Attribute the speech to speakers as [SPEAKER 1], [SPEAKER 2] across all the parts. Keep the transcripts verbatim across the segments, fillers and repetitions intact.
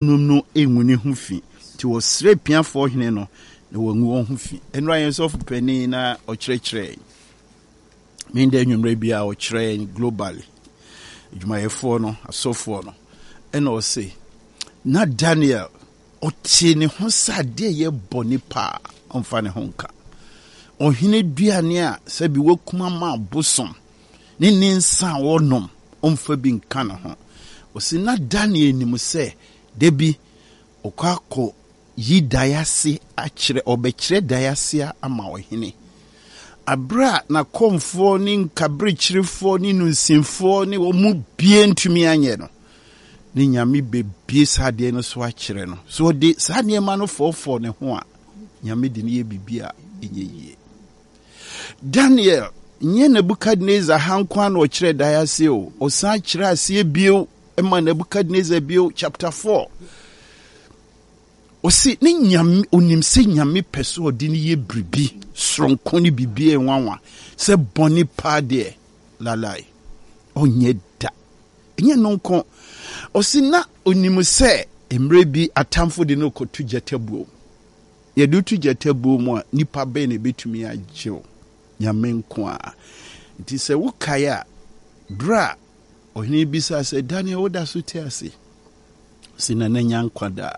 [SPEAKER 1] Nom no ngu ne ho fi. Nti wɔsrɛ apiafoɔ hene no na wangu wɔn ho fi. Ɛnora yɛn sɔfo panin na ɔkyerɛkyerɛ menda anwummerɛ bi a ɔkyerɛ yɛn globally adwumayɛfoɔ no, asɔfoɔ no, ɛna ɔse na Daniel ɔte ne ho sɛ adeɛ yɛ bɔne paa, ɔmfa ne ho nka ɔhene duane a sɛbi wakum ama abosom ne ne nsa a ɔnom, ɔmfa bi nka ne ho. Ɔse na Daniel nim sɛ da bi ɔkɔ akɔ yi dae ase akyerɛ, ɔbɛkyerɛ dae ase ama ɔhene. Aberɛ a n'akɔmfoɔ ne nkaberekyerefoɔ ne nunsinfoɔ ne wɔn mu bie ntumi anyɛ no, ne Nyame bɛbie saa adeɛ no so akyerɛ no. So ɔde saa nneɛma no fɔɔfɔɔ ne ho a, Nyame de no yɛ biribi a ɛnyɛ yie. Daniel nyɛ Nebukadnesar ha nko ara na ɔkyerɛ dae ase o, ɔsan kyerɛ aseɛ bio ma Nebukadnesar bio, chapter four. Ɔsi ne Nyame, onim sɛ Nyame pɛ sɛ ɔde no yɛ biribi soronko ne biribi a ɛnwanwa, sɛ bɔne paa deɛ lalai ɔnyɛ da. Ɛnyɛ no nko, ɔsi na onim sɛ mmerɛ bi atamfo de no kɔto gyata buom. Yɛde wo to gyata buo mu a, nipa bɛn na ɛbɛtumi agye wo? Nyame nko ara. Nti sɛ wokae a, berɛ a ɔhene bisaa sɛ, Daniel, woda so te ase? Ɔse, Nana nya nkwa daa.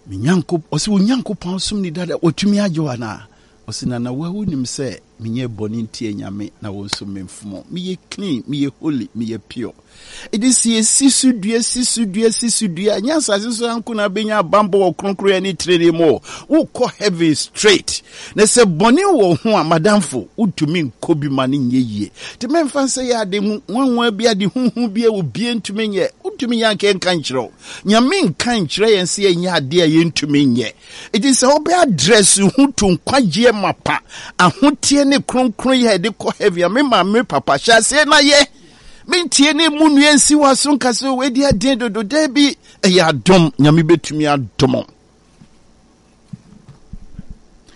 [SPEAKER 1] Me Nyanko, ɔse, wo Nyankopɔn som ni dada, watumi agye wo anaa? Ɔse, Nana, wo a wonim sɛ menyɛ bɔne ntia Nyame na wo nso memfomo. Meyɛ clean, meyɛ holy, meyɛ pure. Enti sɛ yɛsi so dua, si so dua, si so dua, ɛnyɛ asase so nko na abɛnya abanbɔ wɔ kronkronyɛ ne trenee mu o. Wokɔ heaven straight. Na sɛ bɔne wɔ ho a, madamfo, wontumi nkɔ bi ma no nyɛ yie. Nti mɛmfa nsɛ yɛ ade nwanwa bi, ade huhu bi a obiara ntumi nyɛ. Wontumi nyɛ anka yɛnka nkyerɛ wo. Nyame nka nkyerɛ yɛn sɛ yɛnyɛ adeɛ a yɛntumi nyɛ. Enti sɛ wobɛ address ho to nkwagyeɛ mapa, ahoteɛ ne kronkronyɛ a yɛde kɔ heaven a, me maame, me papa, hyɛ aseɛ na yɛ. Mentie ne mu nua nsi w'aso nka sɛ wei deɛ den dodo. Daabi, ɛyɛ adom. Nyame bɛtumi adom.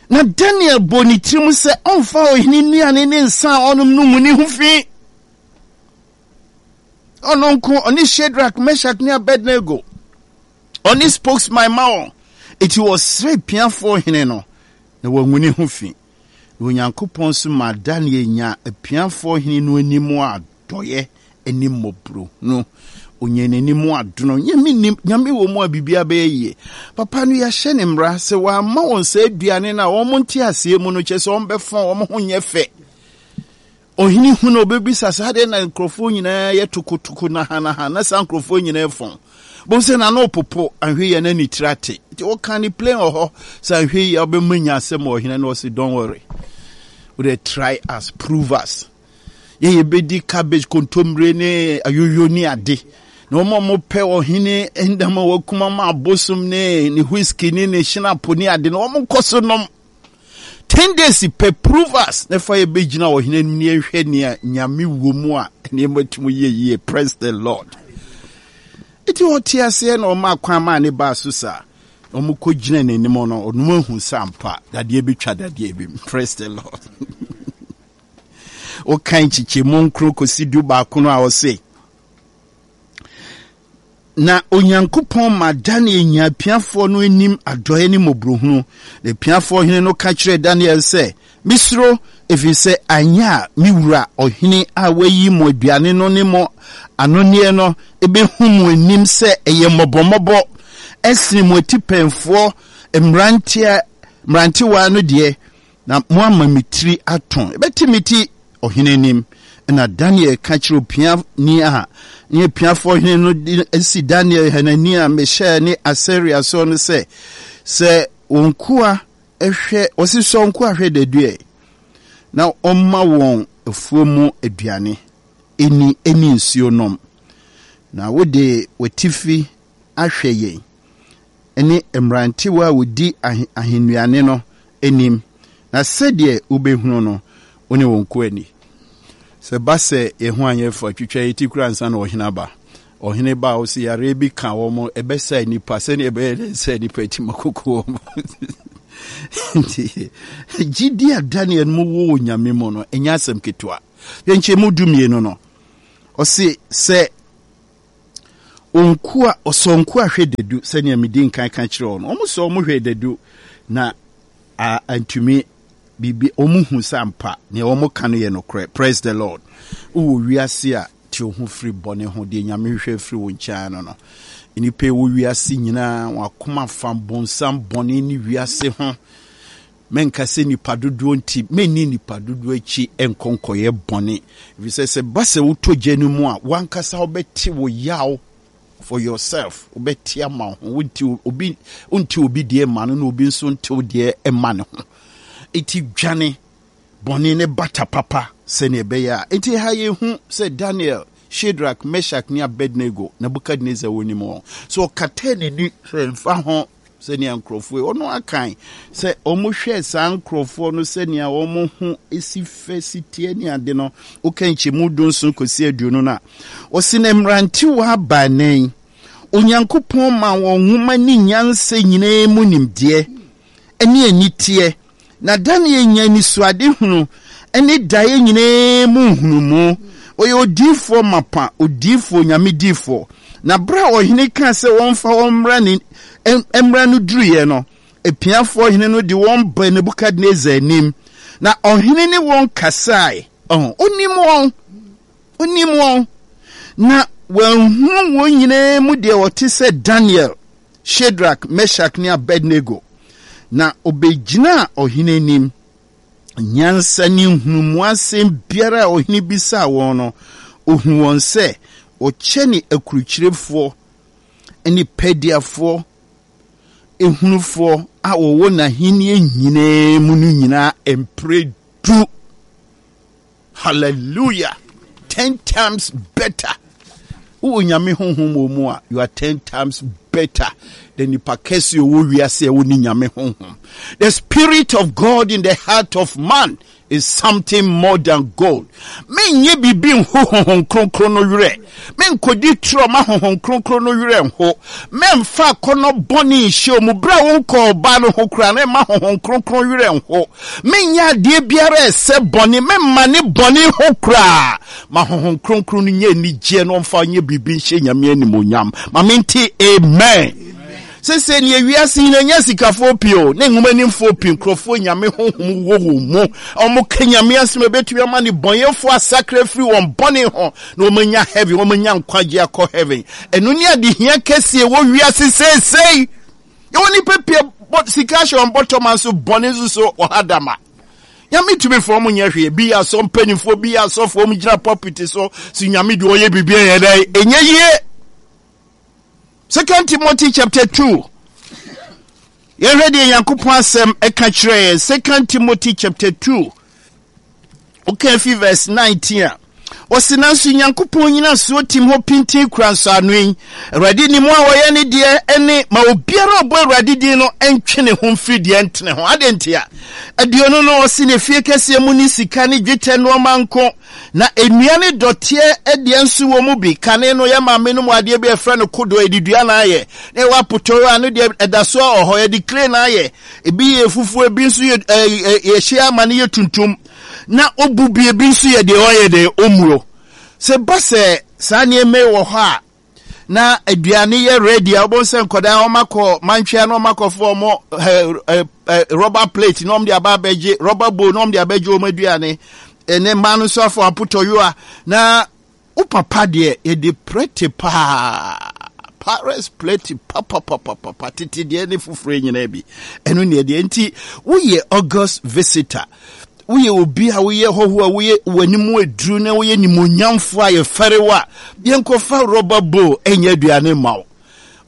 [SPEAKER 1] Na Daniel bɔ ne tirim sɛ ɔmfa ɔhene nnuane ne nsa a ɔnom no ngu ne ho fi. Ɔno nko, ɔne Shadrach, Meshach ne Abednego. Ɔne spokesman ma wɔn. Eti wɔsrɛ piafoɔ hene no na wɔangu ne ho fi. Na Onyankopɔn nso maa Daniel nyaa apiafoɔ hene no anim adɔeɛ ne mmɔborɔhunu. Ɔnyaa n'anim adono. Nyame nim, Nyame wɔ mu a biribiara bɛyɛ yie. Papa no yɛahyɛ ne mmara sɛ wamma wɔn saa aduane no a wɔn nte aseɛ mu no, kyerɛ sɛ wɔbɛfɔn, wɔn ho nyɛ fɛ. Ɔhene hu no, ɔbɛbisa sɛ, adɛn na nkurɔfoɔ nyinaa yɛ tokotoko nahanaha na saa nkurɔfoɔ nyinaa fɔn? Bohu sɛ n'ano repopo, anhwɛ yie a na ne tiri ate. Nti wɔka ne plain wɔ hɔ sɛ anhwɛ yie a wobɛma nya asɛm wɔ ɔhene no, ɔse don't worry. Wode try us, prove us. Yɛ yɛbɛdi cabbage, kontommire ne ayoyo ne ade. Na wɔn a wɔpɛ ɔhene ndam a wɔakum ama abosom ne ne whisky ne ne hyinapo ne ade no, wɔn nkɔ so nom. Ten days pɛ, prove us na fa yɛbɛgyina ɔhene anim ne yɛnhwɛ nea Nyame wɔ mu a nneɛma tumi yɛ yie. Praise the Lord. Nti ɔte aseɛ na ɔma kwan maa ne baa so saa. Na wɔn kɔ gyina n'anim no, ɔno ahu sɛ ampa dadeɛ bɛtwa dadeɛ bi mu. Praise the Lord. Wokan nkyekyɛmu nkron kɔsi du baako no a, ɔse Na Onyankopɔn maa Daniel nyaa apiafoɔ no anim adɔeɛ ne mmɔborɔhunu. Na apiafoɔ hene no ka kyerɛɛ Daniel sɛ, Mesuro, ɛfiri sɛ anyɛ a me wura ɔhene a wayi mo aduane no ne mo anonneɛ no bɛhu mo anim sɛ ɛyɛ mmɔbɔmmɔbɔ sene mo atipɛnfoɔ mmeranteɛ mmerantewaa no deɛ, na moama me tiri atõ. Ɛbɛte me ti ɔhene anim. Ɛnna Daniel ka kyerɛɛ opiani a ne apiafoɔ hene no de asi Daniel, Hanania, Mishael ne Asaria soɔ no sɛ, Sɛ wo nkoa hwɛ, wɔsi sɔ wo nkoa hwɛ dadu ɛ, na ɔmma wɔn afuo mu aduane ɛni ɛne nsuo nom, na wode w'atifi ahwɛ yɛn ne mmerantewa a wɔdi ahennuane no anim, na sɛdeɛ wobɛhunu no, wo ne wo nkoa nni. Sɛ ɛba sɛ yɛn ho anyɛ fɛ a, twitwa yɛn ti koraa ansa na ɔhene aba. Ɔhene ba a, ɔse yareɛ bi ka wɔn, ɛbɛsa nnipa, sɛdeɛ ɛbɛyɛ dɛ sɛ nnipa ti ma koko wɔn. Nti, gyidi a Daniel mu wɔ wɔ Nyame mu no, ɛnyɛ asɛm ketewa. Yɛnkyɛ mu du mmienu no, ɔse sɛ Nkoa, ɔsɔ nkoa hwɛ dadu sɛnea medi nkan ka kyerɛ wɔn. Wɔn sɔ wɔn hwɛ dadu na a antumi biribi wɔn hu sɛ ampa nea wɔn ka no yɛ nokorɛ. Praise the Lord. Wowɔ wiase a te wo ho firi bɔne ho deɛ Nyame hwehwɛ firi wo nkyɛn no no. Nnipa ɛwɔ wiase nyinaa wɔn akoma fa bonsam bɔne ne wiase ho. Menka sɛ nipa dodoɔ nti menni nipa dodoɔ akyi nkɔ nkɔyɛ bɔne. Ɛfiri sɛ sɛ ba sɛ wotɔ gya no mu a wankasa wobɛte wo yaw for yourself, wobɛte ama wo ho. Wonte obi wonte obi deɛ ma no na obi nso nte wo deɛ ma ne ho. Enti dwane bɔne ne bata papa sɛnea ɛbɛyɛ a. Enti ha yɛhu sɛ Daniel, Shadrach, Meshach ne Abednego, Nebuchadnezzar wɔnim wɔn. So ɔkataa n'ani sɛ mfa ho sɛnea nkurɔfoɔ yi, ɔno akan sɛ wɔhwɛɛ saa nkurɔfoɔ no sɛnea wɔn ho si fɛ si teɛ ne ade no, woka nkyɛmu dunson kɔsi aduonu no a, ɔsi na mmerantewa baanan, Onyankopɔn ma wɔn nwoma ne nyansa nyinaa mu nimdeɛ ne aniteɛ, na Daniel nya anisoadehunu ne daeɛ nyinaa mu nhunumu. Ɔyɛ odiyifoɔ mapa, odiyifoɔ, Nyame diyifoɔ. Na berɛ a ɔhene kaa sɛ wɔmfa wɔn mmra ne mmra no duruiɛ no, apiafoɔ hene no de wɔn baa Nebukadnesar anim, na ɔhene ne wɔn kasae. Ɔho, ɔnim wɔn, ɔnim wɔn. Na wɔanhunu wɔn nyinaa mu deɛ ɔte sɛ Daniel, Shadrach, Meshach ne Abednego. Na ɔbɛgyinaa ɔhene anim. Nyansa ne nhunumu asɛm biara a ɔhene bisaa wɔn no, ɔhu wɔn sɛ wɔkyɛne akurukyirefoɔ ne Pediafoɔ ehunufoɔ a wɔwɔ n'ahennie nyinaa mu no nyinaa mprɛ du. Hallelujah! Ten times better. Wowɔ Nyame honhom wɔ mu a, you are ten times better than nipa kɛse ɔwɔ wiase a ɛwɔ ne Nyame honhom. The spirit of God in the heart of man is something more than gold. Menyɛ biribi nho honhom kronkron no werɛ. Menkɔdi torɔ ma honhom kronkron no werɛ nho. Memfa akɔnnɔ bɔne nhyɛ mu berɛ a wonkɔɔ ɔbaa no ho koraa na ɛma honhom kronkron werɛ nho. Menyɛ adeɛ biara a ɛsɛ bɔne, memma ne bɔne ho koraa. Ma honhom kronkron no nyɛ anigyeɛ na ɔmfa nyɛ biribi nhyɛ Nyame animuonyam. Ma mente amen. Sese neɛ wiase nyina nya sikafoɔ pii o ne nwomanimfoɔ pii nkurɔfoɔ Nyame honhom wɔ wɔn mu wɔn ka Nyame asɛm ɛbɛtumi ama ne bɔnyɛfoɔ asakra firi wɔn bɔne ho na wɔn anya heaven, wɔn anya nkwagye akɔ heaven. Ɛno ne adehia kɛseɛ wɔ wiase seesei. Yɛwɔ nipa pii bɔ sika ahyɛ wɔn bɔtɔma nso bɔne nso so ɔha dama. Nyame tumi fo wɔn nyɛ hwee. Bi yɛ asɔ mpanimfoɔ, bi yɛ asɔfoɔ, wɔn gyina pulpit so so Nyame deɛ ɔyɛ biribi ɛyɛ dɛ ɛnyɛ yie. Second Timothy chapter two. Yɛhwɛ deɛ Nyankopɔn asɛm ɛka kyerɛ yɛn. Second Timothy chapter two. Woka fi verse nineteen a. Ɔse nanso Nyankopɔn nyinasoɔ tim hɔ pintinn kura nsɔano yi. Awurade nim wɔn a wɔyɛ ne deɛ ɛne ma obiara a ɔbɔ Awurade din no ntwe ne ho mfiri deɛ ɛntene ho. Adɛn ntia? Aduonu no ɔse ne fie kɛseɛ mu ne sika ne dwetɛ nnoɔma nko, na nnua ne dɔteɛ deɛ nso wɔ mu bi. Kane no yɛ maame no mu adeɛ bi a ɛfrɛ no kodoɔ, yɛde dua na ayɛ. Na ɛwɔ apotɔɔ a no deɛ ɛda so wɔ hɔ, yɛde clay na ayɛ. Ebi yɛ fufuo, ebi nso yɛ ɛɛ yɛhyɛ ama no yɛ tuntum. Na obu bi, ebi nso yɛ deɛ ɔyɛ deɛ ɔmmuo. Sɛ ba sɛ saa nneɛma yi wɔ hɔ a, na aduane yɛ ready a, wobɛhu sɛ nkwadaa wɔn akɔ mantwea na wɔn akɔfo wɔn ɛ ɛ ɛ rubber plate na wɔn de aba abɛgye rubber bowl na wɔn de abɛgye wɔn aduane. Ɛnɛ mmaa no nso afɔ apotɔyowa na Wo papa deɛ yɛde prɛte paa, Paris plɛte papapapapa, tete deɛ ne foforɔ nyinaa bi. Ɛno ne ɛdeɛ nti woyɛ August visitor, woyɛ obi a woyɛ hɔho a woyɛ w'anim aduru na woyɛ nimonyamfoɔ a yɛfɛre wo a, yɛnkɔfa rɔba bowl ɛnyɛ aduane mma wo.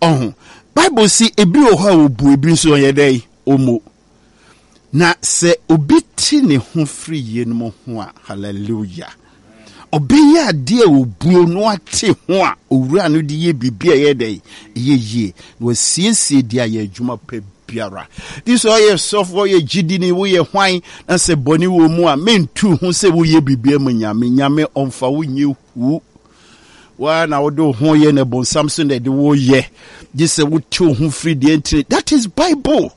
[SPEAKER 1] Ɔho, Bible si ebi wɔ hɔ a wɔbu ebi nso ɔyɛ dɛn? Ɔmmu. Na sɛ obi te ne ho firi yeinom ho a, hallelujah, ɔbɛyɛ adeɛ a obuo no ate ho a owura no de yɛ biribi a ɛyɛ dɛn? Ɛyɛ yie. Na wasiesie de ayɛ adwuma pa biara. Nti sɛ ɔyɛ sɔfo, ɔyɛ gyidini, woyɛ hwan, na sɛ bɔne wɔ mu a, mentu ho sɛ woyɛ biribi ama Nyame. Nyame ɔmfa wo nyɛ hu. Waa na wode wo ho yɛ na bonsam so na ɛde wo yɛ. Gye sɛ wote wo ho firi deɛ ntini. That is Bible.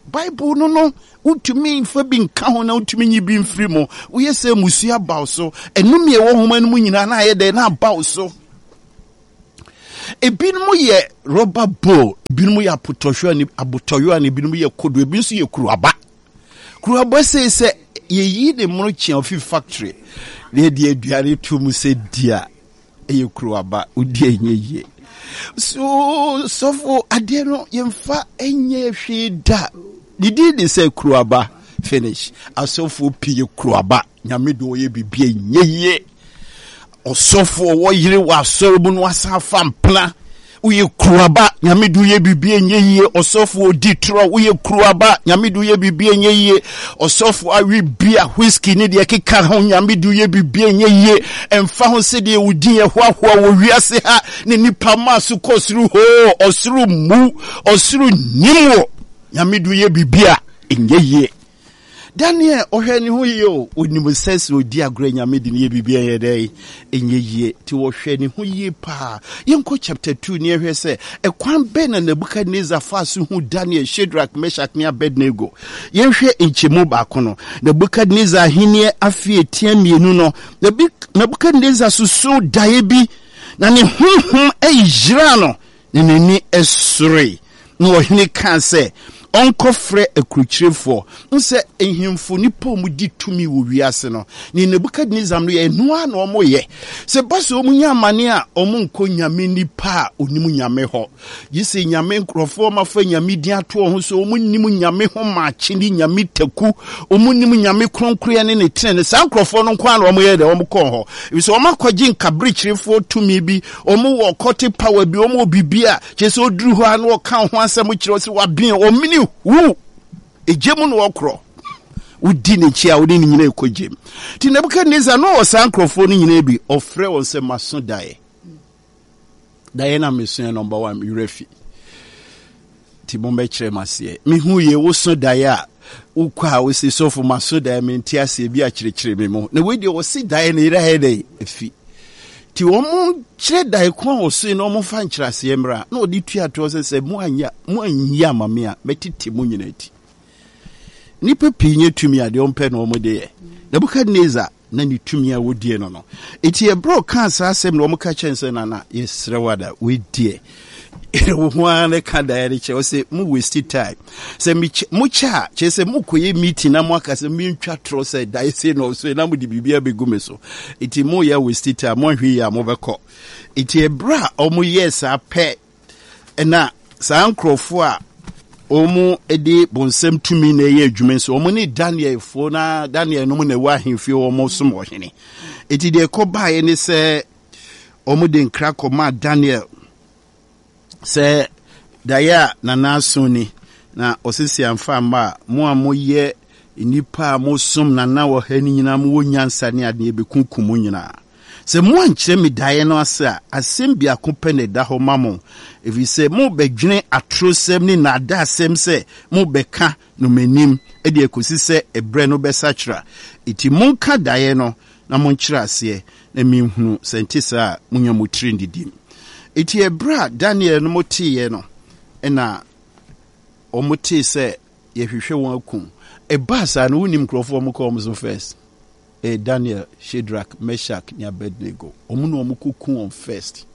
[SPEAKER 1] Bible no no, wontumi mfa bi nka ho na wontumi nyi bi mfiri mu. Woyɛ sɛ mmusua aba wo so. Ɛnome a ɛwɔ nhoma no mu nyinaa na ayɛ dɛn na aba wo so. Ebinom yɛ rubber bowl, ebinom yɛ apotɔhwewa ne abotɔyewa na ebinom yɛ kodo, ebi nso yɛ kuruaba. Kuruaba sei sɛ yɛyi ne mono kyea ofi factory na yɛde aduane to mu sɛ di a, ɛyɛ kuruaba, wodi a ɛnyɛ yie. So sɔfo adeɛ no yɛmfa nyɛ hwee da. Ne din de sɛ kuruaba finish. Asɔfoɔ pii yɛ kuruaba. Nyame de ɔyɛ biribi a ɛnyɛ yie. Ɔsɔfo ɔwɔ yere wɔ asɔre mu no asan afa mpena. Woyɛ kuruaba, Nyame de woyɛ biribi a ɛnyɛ yie. Ɔsɔfo ɔdi torɔ, woyɛ kuruaba, Nyame de woyɛ biribi a ɛnyɛ yie. Ɔsɔfo awe bia, whisky ne deɛ ɛkeka ho, Nyame de woyɛ biribi a ɛnyɛ yie. Ɛmfa ho sɛdeɛ wo din ɛhoahoa wɔ wiase ha ne nipa maa so kɔ soro hoo, ɔsoro mmu, ɔsoro nim wo. Nyame de woyɛ biribi a ɛnyɛ yie. Daniel ɔhwɛ ne ho yie o, onim sɛ sɛ ɔdi agorɔ Nyame de ne yɛ biribi ɛyɛ dɛ ɛnyɛ yie, nti wɔhwɛ ne ho yie paa. Yɛnkɔ chapter two ne yɛhwɛ sɛ ɛkwan bɛn na Nebuchadnezzar faa so hu Daniel, Shadrach, Meshach ne Abednego. Yɛnhwɛ nkyɛmu baako no. Nebuchadnezzar ahenni afe etia mmienu no, Nebuchadnezzar susuu daeɛ bi na ne honhom yiraa no na n'ani soroe. Na ɔhene kaa sɛ ɔnkɔfrɛ akurukyirefoɔ. Wohu sɛ nhemfo, nnipa a wɔdi tumi wɔ wiase no, ne Nebukadnesar no yɛ ɛno ara na wɔyɛ. Sɛ ɛba sɛ wɔnya amane a, wɔnkɔ nyame nipa a onim nyame hɔ. Gye sɛ nyame nkurɔfoɔ ma fa nyame din ato wɔn ho so, wɔnnim nyame ho maakye ne nyame taku, wɔnnim nyame kronkroyɛ ne ne tenene. Saa nkurɔfoɔ no nko ara na wɔyɛ dɛ wɔkɔ hɔ. Efisɛ wɔakɔgye nkaberekyerefoɔ tumi bi, wɔwɔ occultic power bi, wɔwɔ biribi a kyerɛ sɛ ɔduru hɔ a na ɔka ho asɛm kyerɛ sɛ waben ɔmene hu egye mu na ɔkorɔ wodi n'akyi a wode ne nyina ɛkɔ gyem. Nti Nebukadnezar na ɔwɔ saa nkurɔfoɔ no nyinaa bi, ɔfrɛ wɔn sɛ maso daeɛ daeɛ na mesoɛ number one mewerɛ fi nti mommɛkyerɛ m aseɛ. Mehu yie woso daeɛ a wokɔ a wosi sɔfo maso daeɛ mente aseɛ bi akyerɛkyerɛ me mu na wei deɛ ɔse daeɛ no yerɛ ayɛ dɛ afi. Nti wɔn kyerɛ daeɛ ko a ɔsoe na wɔn fa nkyerɛaseɛ mmra na ɔde tua toɔ sɛ sɛ mo anya mo anyi ama me a mɛtete mo nyinaa ti. Nnipa pii nyɛ tumi a deɛ wɔmpɛ na wɔn de yɛ. Nebukadnezar na ne tumi a wɔdie no no. Enti ɛberɛ a ɔkaa saa asɛm no, wɔka kyerɛ no sɛ, Nana, yɛsrɛ wo ada, wei deɛ, wo ho ara ne ka daeɛ no kyerɛ wo sɛ mo waste time. Sɛ mokyɛ a, kyerɛ sɛ mokɔyɛ meeting na moaka sɛ mentwa torɔ sɛ daeɛ sei na ɔsoe na mode biribi abɛgu me so. Enti moyɛ waste time, moanhwɛ yie a mobɛkɔ. Enti ɛberɛ a wɔyɛɛ saa pɛ na saa nkurɔfoɔ a wɔde bonsam tumi na ɛyɛ adwuma nso wɔn ne Danielfoɔ na Daniel nom na ɛwɔ ahemfie wɔn som ɔhene. Eti deɛ ɛkɔ baeɛ ne sɛ wɔn de nkra kɔmaa Daniel sɛ daeɛ a nana aso ni na ɔsisi amfa mma a mo a moyɛ nnipa a mosom nana wɔ ha no nyinaa mowɔ nyansa ne adeɛ bɛkunkum mo nyinaa. Sɛ moankyerɛ me daeɛ no ase a, asɛm biako pɛ na ɛda hɔ ma mo, ɛfiri sɛ morebɛdwene atorosɛm ne nnaadaasɛm sɛ morebɛka no m'anim de akɔsi sɛ ɛberɛ no bɛsakyera. Enti monka daeɛ no na monkyerɛ aseɛ, na menhunu, sɛ ɛnte saa a, monya mo tiri nnidim. Enti ɛberɛ a Daniel nom teeɛ no, ɛnna wɔtee sɛ yɛhwehwɛ wɔn akum. Ɛbaa saa no, wonim nkurɔfoɔ a wɔkɔɔ wɔn so first? Ɛyɛ Daniel, Shadrach, Meshach ne Abednego. Wɔn na wɔn kɔku wɔn first.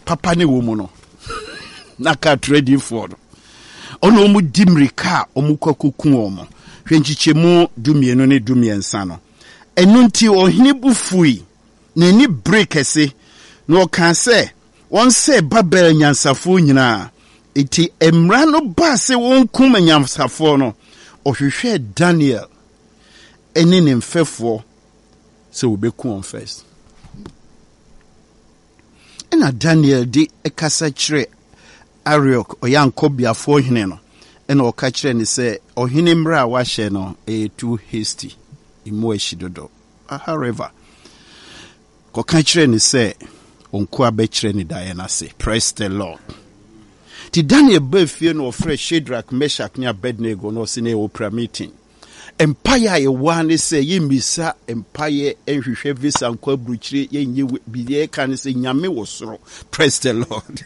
[SPEAKER 1] Papa ne wɔ mu no, na ka atorɔdifoɔ no. Ɔna wɔn di mmirika a wɔn kɔ akɔku wɔn. Hwɛ nkyekyɛmu dumienu ne dumiɛnsa no. Ɛno nti ɔhene bo fui, n'ani bere kɛse, na ɔkaa sɛ wɔnsɛe Babel anyansafoɔ nyinaa. Enti mmara no baa sɛ wɔnkum anyansafoɔ no, ɔhwehwɛɛ Daniel ne ne mfɛfoɔ sɛ wɔbɛku wɔn first. Ɛna Daniel de kasa kyerɛ Ariok, ɔyɛ ankɔbeafoɔ hene no, ɛna ɔka kyerɛ ne sɛ ɔhene mmara a wahyɛ no ɛyɛ too hasty, emu ahyi dodo. However, Kɔka kyerɛ no sɛ nkoa bɛkyerɛ no daeɛ no ase. Praise the Lord. Nti Daniel baa fie na ɔfrɛ Shadrach, Meshach ne Abednego na ɔse na yɛwɔ prayer meeting. Mpaeɛ a yɛwɔ ara ne sɛ yɛmmisa mpaeɛ nhwehwɛ visa nkɔ aburokyire, yɛnyɛ biribi, yɛka ne sɛ Nyame wɔ soro. Praise the Lord.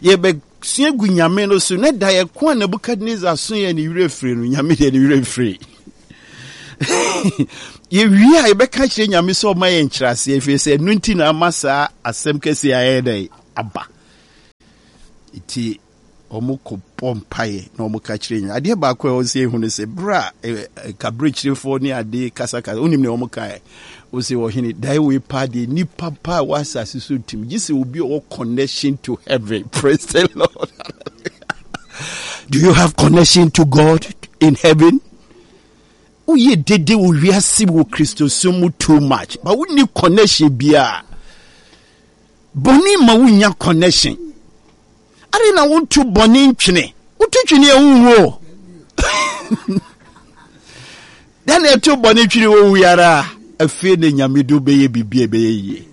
[SPEAKER 1] Yɛbɛ Sua gu Nyame no so, na daeɛ ko a Nebukadnesar soeɛ ne werɛ firi no, Nyame deɛ ne werɛ mfiri. Yɛwie a, yɛbɛka kyerɛ Nyame sɛ ɔma yɛ nkyerɛaseɛ, ɛfiri sɛ ɛno nti na ama saa asɛm kɛseɛ ayɛ dɛn aba. Nti wɔn kɔ bɔ mpaeɛ na wɔn ka kyerɛ Nyame. Adeɛ baako a ɛwɔ sɛ ehu no sɛ berɛ a kaberekyerefoɔ ne ade kasakasa, wonim nea wɔn kaeɛ? Wɔsɛ ɔhene, dae wei paa deɛ nipa paa wɔ asase so ntumi, gye sɛ obi a ɔwɔ connection to heaven. Praise the Lord. Do you have connection to God in heaven? Woyɛ dede wɔ wiase wɔ Kristosom mu too much, but wonni connection biara. Bɔne ma wonya connection. Ade na wonto bɔne ntwene. Woto twene a wonwu o. Dɛn na ɛto bɔne twene wɔ wu ara. Afei na Nyame de wobɛyɛ biribi a ɛbɛyɛ yie.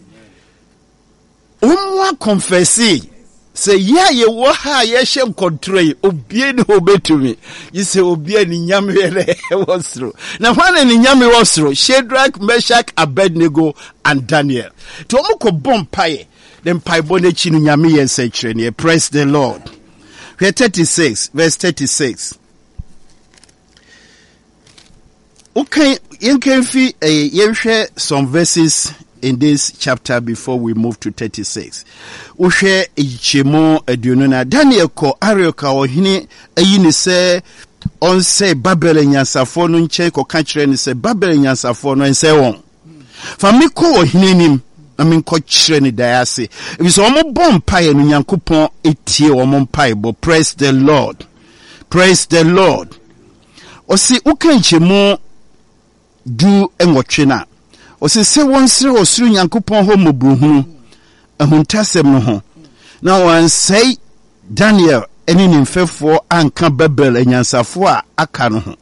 [SPEAKER 1] Wɔn akɔnfɛse sɛ yɛ a yɛwɔ ha a yɛhyɛ nkɔntorɔ yi, obie ne hɔ bɛtumi. Gye sɛ obi a ne nyame yɛ dɛ ɛwɔ soro. Na hwan na ne nyame wɔ soro? Shadrach, Meshach, Abednego and Daniel. Nti wɔn kɔ bɔ mpaeɛ. Ne mpaebɔ no akyi no Nyame yɛ nsɛnkyerɛnneɛ. Praise the Lord. Hwɛ thirty-six verse thirty-six. Wokan yɛnkan fi eh, yɛnhwɛ some verses in this chapter before we move to thirty-six. Wohwɛ nkyɛmu aduonu na Daniel kɔ Arioch a ɔhene ayi ne sɛ ɔnsɛe Babel anyansafoɔ no nkyɛn kɔka kyerɛ no sɛ Babel anyansafoɔ no ɛnsɛe wɔn. Fa me kɔ ɔhene anim na menkɔkyerɛ ne daeɛ ase. Efisɛ wɔn bɔ mpaeɛ no, Nyankopɔn tie wɔn mpaebɔ. Praise the Lord. Praise the Lord. Ɔse woka nkyɛmu du nwɔtwe no a, ɔse sɛ wɔnsrɛ ɔsoro Nyankopɔn hɔ mmɔborɔhunu ahuntasɛm no ho, na wɔansɛe Daniel ne ne mfɛfoɔ anka Babel anyansafoɔ a aka no ho.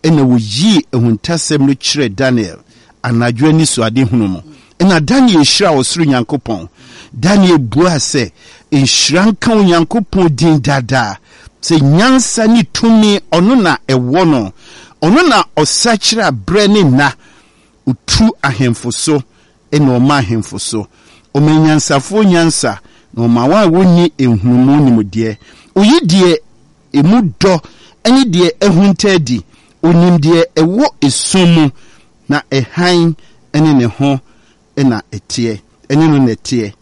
[SPEAKER 1] Ɛnna wɔyii ahuntasɛm no kyerɛɛ Daniel anadwo anisoadehunu mu. Ɛnna Daniel hyiraa ɔsoro Nyankopɔn. Daniel buaa sɛ, Nhyira nka Onyankopɔn din daa daa, sɛ nyansa ne tumi ɔno na ɛwɔ no. Ɔno na ɔsakyera berɛ ne nna, ɔtu ahemfo so na ɔma ahemfo so. Ɔma anyansafoɔ nyansa, na ɔma wɔn a wɔnni nhunumu nimdeɛ. Ɔyi deɛ emu dɔ ne deɛ ahunta adi. Ɔnim deɛ ɛwɔ esum mu, na hann ne ne ho na ɛteɛ, ɛne no na ɛteɛ.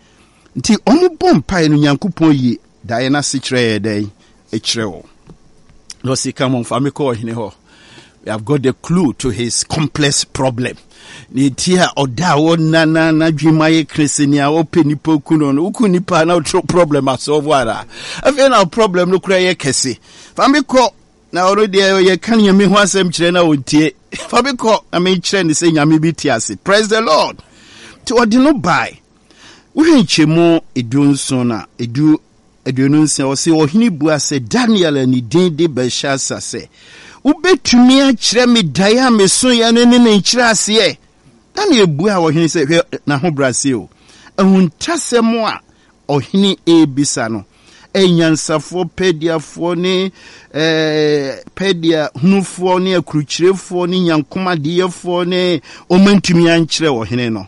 [SPEAKER 1] Nti wɔbɔ mpaeɛ no, Nyankopɔn yi daeɛ no ase kyerɛ yɛ dɛn? Ɛkyerɛ wɔn. Na ɔsi, come on, fa me kɔ ɔhene hɔ. We have got the clue to his complex problem. Ne ti a ɔda a ɔna na n'adwene mu ayɛ kere nea ɔpɛ nipa ku no no, woku nipa na ɔtwerɛ problem asɔfo ara. Afei na problem no kora yɛ kɛse. Fa me kɔ na ɔno deɛ ɔyɛ ka Nyame ho asɛm kyerɛ na ɔntie. Fa me kɔ na menkyerɛ ne sɛ Nyame bi te ase. Praise the Lord. Nti ɔde no bae. Wohwɛ nkyɛmu edu nson na edu aduonu nsia, ɔse, Ɔhene bua sɛ, Daniel a ne din de Belshazzar sɛ, Wobɛtumi akyerɛ me daeɛ a mesoeɛ no ne ne nkyerɛaseɛ? Daniel buaa ɔhene sɛ, hwɛ n'ahobrɛaseɛ o, ahuntasɛm a ɔhene rebisa no, anyansafoɔ, Perdiafoɔ ne eh, Perdia hunufoɔ ne akurukyirefoɔ ne nyankomadeyɛfoɔ ne wɔantumi ankyerɛ ɔhene no.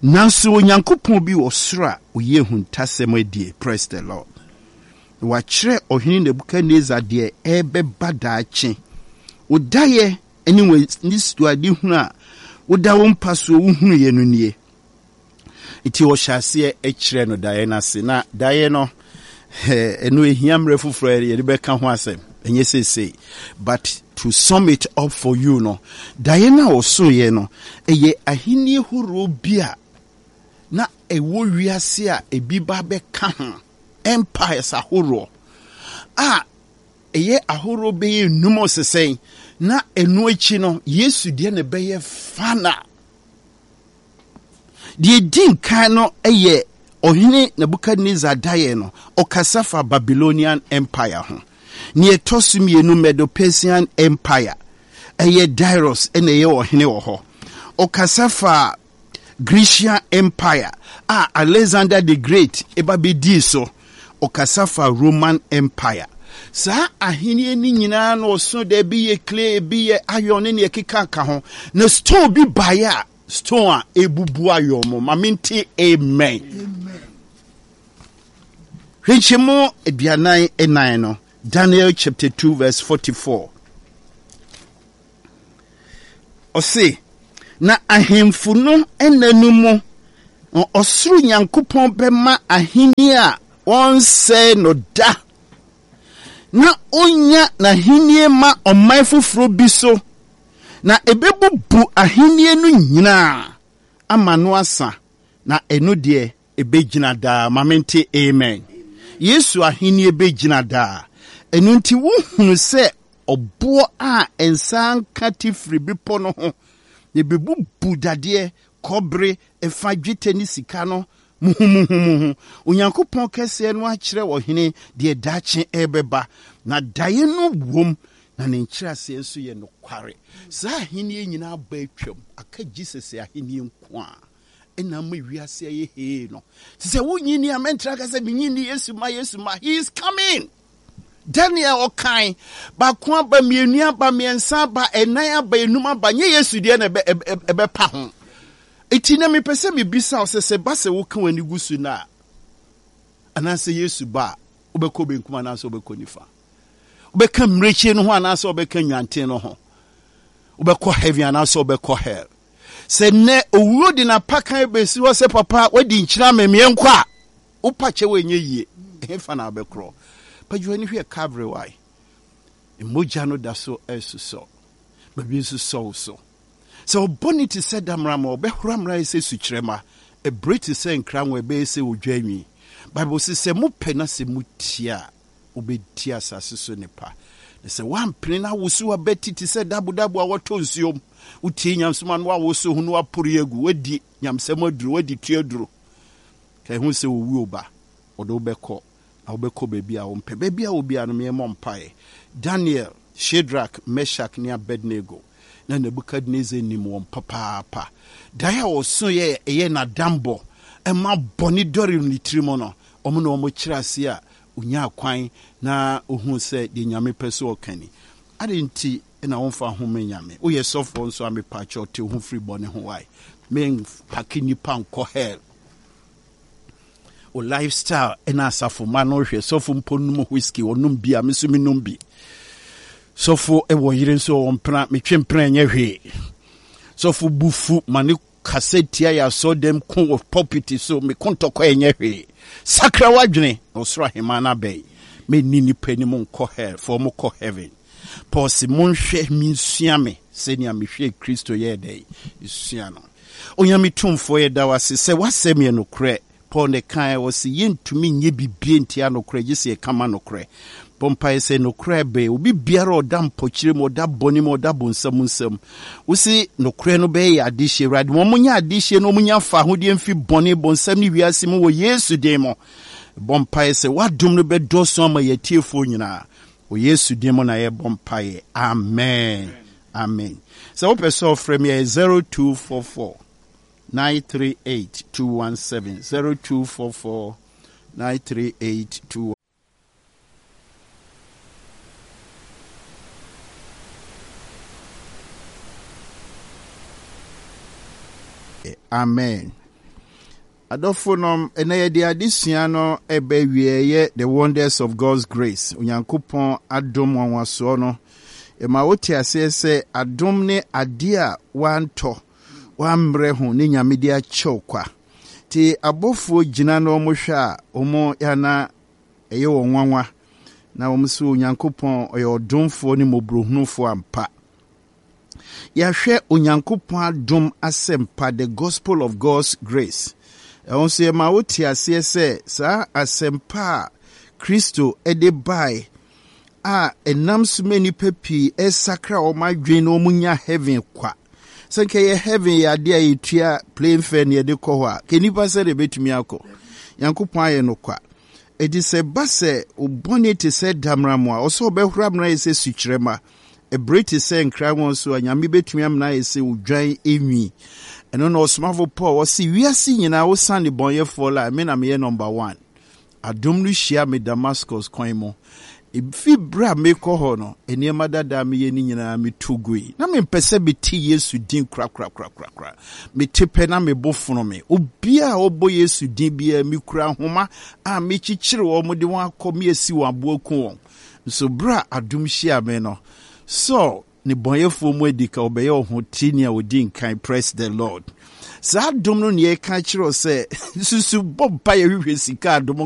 [SPEAKER 1] Nanso Onyankopɔn bi wɔ soro a oyi ahuntasɛm adie. Praise the Lord. Na wakyerɛ ɔhene Nebukadnesar deɛ ɛrebɛba daakye. Wo daeɛ ne w'anisoadehunu a woda wo mpa soɔ wohunuiɛ no nie. Nti ɔhyɛ aseɛ kyerɛ no daeɛ no ase. Na daeɛ no, ɛno ɛhia mmerɛ foforɔ a yɛde bɛka ho asɛm, ɛnyɛ seesei. But to sum it up for you no, daeɛ no a ɔsoeɛ no, ɛyɛ ahennie horoɔ bi a na ɛwɔ wiase a ebi ba bɛka ho, empires ahoroɔ a ɛyɛ ahoroɔ bɛyɛ nnum ɔsesɛn, na ɛno akyi no, Yesu deɛ na ɛbɛyɛ final. Deɛ ɛdi nkan no yɛ Ɔhene Nebukadnesar daeɛ no, ɔkasa fa Babylonian Empire ho. Nea ɛtɔ so mmienu, Medo-Persian Empire, ɛyɛ Darius na ɛyɛ ɔhene wɔ hɔ. Ɔkasa fa Grecian Empire a Alexander the Great ba bɛdii so. Ɔkasa fa Roman Empire. Saa ahenni no nyinaa na ɔso da, ebi yɛ clay, ebi yɛ iron ne nea ɛkeka ka ho. Na stone bi baeɛ a stone a ebubu iron mu. Ma mente amen. Hwɛ nkyɛmu aduanan nnan no, Daniel chapter two verse forty-four. Ɔse, na ahemfo no nna no mu, ɔsoro Nyankopɔn bɛma ahenni a wɔnsɛe no da, na onya n'ahenni ma ɔman foforɔ bi so, na ɛbɛbubu ahenni no nyinaa ama no asa, na ɛno deɛ ɛbɛgyina daa. Ma mente amen. Yesu ahenni bɛgyina daa. Ɛno nti wohunu sɛ ɔboɔ a nsa nka te firi bepɔ no ho, na ɛbɛbubu dadeɛ, kɔbere, ɛfa dwetɛ ne sika no muhumuhumuhu. Onyankopɔn kɛseɛ no akyerɛ ɔhene deɛ daakye ɛrebɛba, na daeɛ no wom, na ne nkyerɛaseɛ nso yɛ nokware. Saa ahenni nyinaa ba atwam, aka Jesus ahenni nko a ɛna ama wiase ayɛ hee no. Te sɛ wonyini a mɛntra ka sɛ menyini Yesu ma Yesu ma. He is coming. Daniel ɔkan baako aba, mmienu aba, mmiɛnsa aba, ɛnan aba, enum aba, nyɛ Yesu deɛ na ɛbɛpa ho. Eti na mepɛ sɛ mebisa wo sɛ, sɛ ba sɛ woka w'ani gu so no a, anaasɛ Yesu ba a, wobɛkɔ benkum anaasɛ wobɛkɔ nifa? Wobɛka mmirekyie no ho anaasɛ wobɛka nnwanten no ho? Wobɛkɔ heaven anaasɛ wobɛkɔ hell? Sɛ nnɛ owuo de n'apakan bɛsi hɔ sɛ papa wadi nkyena memeɛ nkɔ a, wopa kyɛw ɛnyɛ yie, ɛhefa na wobɛkorɔ? Padwo ani hwɛ Calvary wae. Mogya no da so ɛresosɔ. Baabi nso sɔ wo so. Sɛ ɔbɔne te sɛ damena ma ɔbɛhora mmara yɛ sɛ sukyerɛma, ɛbere te sɛ nkrango ɛbɛyɛ sɛ odwa nwi. Bible se sɛ mopɛ na sɛ motie a, wobɛdi asase so nnepa. Na sɛ woampene na awoso abati te sɛ dabodabo a wɔtɔ nsuom, wotie nyamsoma no woawoso ho na woapore agu, woadi nyamsɛm aduro, woadi tua aduro. Ka ɛho sɛ owuo ba, ɔde wobɛkɔ na wobɛkɔ baabi a wompɛ. Baabi a wobiara no meɛmmɔ mpaeɛ. Daniel, Shadrach, Meshach ne Abednego, na Nebukadnezar nim wɔn papaapa. Daeɛ a ɔso yɛ ɛyɛ n'adambɔ ɛma bɔne dɔre ne tirim no, wɔn na wɔn kyerɛ ase a onyaa kwan na ohuu sɛ deɛ Nyame pɛ so ɔka ni. Ade nti na wɔmfa ho ma Nyame. Woyɛ sɔfoɔ nso a mepaakyɛw te wo ho firi bɔne ho wae. Mempake nnipa nkɔ hell. O lifestyle ɛna asafo ma no hwɛ. Sɔfo mpo nom whiskey, ɔnom bi a me nso menom bi. Sɔfo ɛwɔ yere nso ɔwɔ mpena, metwe mpena ɛnyɛ hwee. Sɔfo bufu ma ne kasa tia yɛ asɔdɛm ko wɔ pulpit so, me ko ntɔkwa ɛnyɛ hwee. Sakra w'adwene na ɔsoro ahemman no abɛn. Menni nnipa anim nkɔ hell, fa ɔmo kɔ heaven. Paul se monhwɛ mensua me sɛnea mehwɛ Kristo yɛɛ dɛn esua no. Onyame tumfoɔ, yɛda wo ase sɛ w'asɛm yɛ nokorɛ. Paul ne kae wɔ se yɛntumi nyɛ bibie ntia nokorɛ gye sɛ yɛka ma nokorɛ. Bɔ mpaeɛ sɛ nokorɛ bɛn obi biara ɔda mpɔkyerɛ mu, ɔda bɔne mu, ɔda bonsam nsam. Wo se nokorɛ no bɛyɛ yɛ adehyeɛ. Awurade, wɔn mo nyɛ adehyeɛ na wɔn nya fa ahodeɛ mfi bɔne, bonsam ne wiase mu wɔ Yesu din mu. Bɔ mpaeɛ sɛ w'adom no bɛdɔɔso ama yɛn atiefoɔ nyinaa. Wɔ Yesu din mu na yɛbɔ mpaeɛ. Amen. Amen. Sɛ wopɛ sɛ ɔfrɛ me ɛyɛ zero two four four nine three eight two one seven, zero two four four nine three eight two. Amen. Adɔfo nom, ɛnɛ yɛde adesua no ɛbɛ wie yɛ The Wonders of God's Grace. Onyankopɔn adom nwanwasoɔ no. Ɛma wote aseɛ sɛ adom ne adeɛ a wantɔ, wammrɛ ho ne Nyame de akyɛw kwa. Nti abɔfoɔ gyina na wɔn hwɛ a, wɔn yana ɛyɛ wɔn nwanwa. Na wɔn sɛ Onyankopɔn ɔyɛ ɔdomfoɔ ne mmɔborɔhunufoɔ ampa. Yɛahwɛ Onyankopɔn adom asɛmpa, the gospel of God's grace. Ɛho nso yɛma wote aseɛ sɛ saa asɛmpa a Kristo de bae a ɛnam so ma nnipa pii ɛsakra wɔn adwene na wɔn nya heaven kwa. Sɛ nka yɛ heaven yɛ adeɛ a yɛtua plane fare na yɛde kɔ hɔ a, ka nnipa sɛ de bɛtumi akɔ. Nyankopɔn ayɛ no kwa. Enti sɛ ba sɛ obɔne te sɛ damena mu a, ɔsɛ ɔbɛhora amena ayɛ sɛ sukyerɛma. Ɛbere te sɛ nkrango nso a, Nyame bɛtumi amena ayɛ sɛ odwan enwi. Ɛno na ɔsomafo Paul ɔse wiase nyinaa wosan nnebɔneyɛfoɔ la, me na meyɛ number one. Adom no hyia me Damascus kwan mu. Efi bere a mekɔ hɔ no, nneɛma dada a meyɛ no nyinaa metu gui. Na mempɛ sɛ mete Yesu din korakorakorakora. Mete pɛ na me bo fono me. Obiara a ɔbɔ Yesu din biara, mikura nhoma a mekyekyere wɔn de wɔn akɔ me asi wɔn abo aku wɔn. Nso bere a adom hyia me no, Saul Ne bɔnyɛfoɔ mu adi ka ɔbɛyɛ ɔhoteni a ɔdi nkan. Praise the Lord. Saa adom no ne yɛka kyerɛ sɛ susu bɔ mpa yɛhwehwɛ sika adom.